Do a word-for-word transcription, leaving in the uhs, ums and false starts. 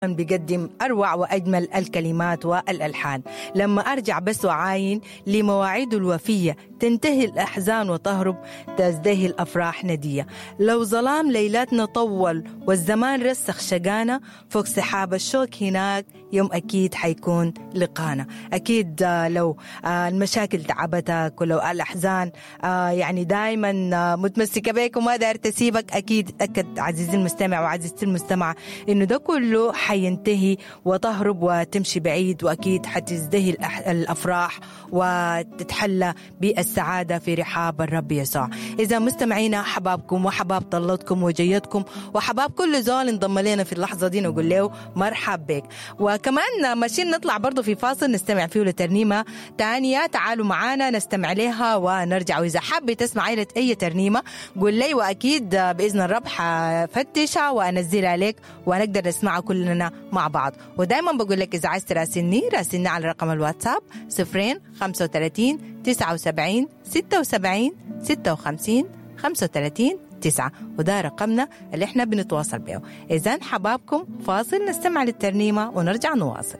بيقدم أروع وأجمل الكلمات والألحان. لما أرجع بس وعاين لمواعيد الوفية، تنتهي الأحزان وتهرب تزدهي الأفراح ندية. لو ظلام ليلاتنا طول والزمان رسخ شقانا، فوق سحاب الشوك هناك يوم أكيد حيكون لقانا. أكيد لو المشاكل تعبتك ولو الأحزان يعني دايما متمسكة بك وما داير تسيبك، أكيد أكد عزيزي المستمع وعزيزتي المستمعة إنه ده كله حينتهي وتهرب وتمشي بعيد، وأكيد حتزدهي الأفراح وتتحلى بالسعادة في رحاب الرب يسوع. إذا مستمعينا، حبابكم وحباب طلتكم وجيتكم وحباب كل زول انضم لنا في اللحظة دي نقول له مرحب بك. وكمان ماشيين نطلع برضو في فاصل نستمع فيه لترنيمة تانية، تعالوا معانا نستمع لها ونرجع. وإذا حابة تسمع أي ترنيمة قول لي، وأكيد بإذن الرب حفتشها وأنزلها لك ونقدر نسمعها كلنا مع بعض. ودايما بقول لك إذا عايز تراسلني راسلني على رقم الواتساب صفرين خمسة وثلاثين تسعة وسبعين ستة وسبعين ستة وخمسين خمسة وثلاثين تسعة، وده رقمنا اللي احنا بنتواصل به. إذن حبابكم فاصل نستمع للترنيمة ونرجع نواصل.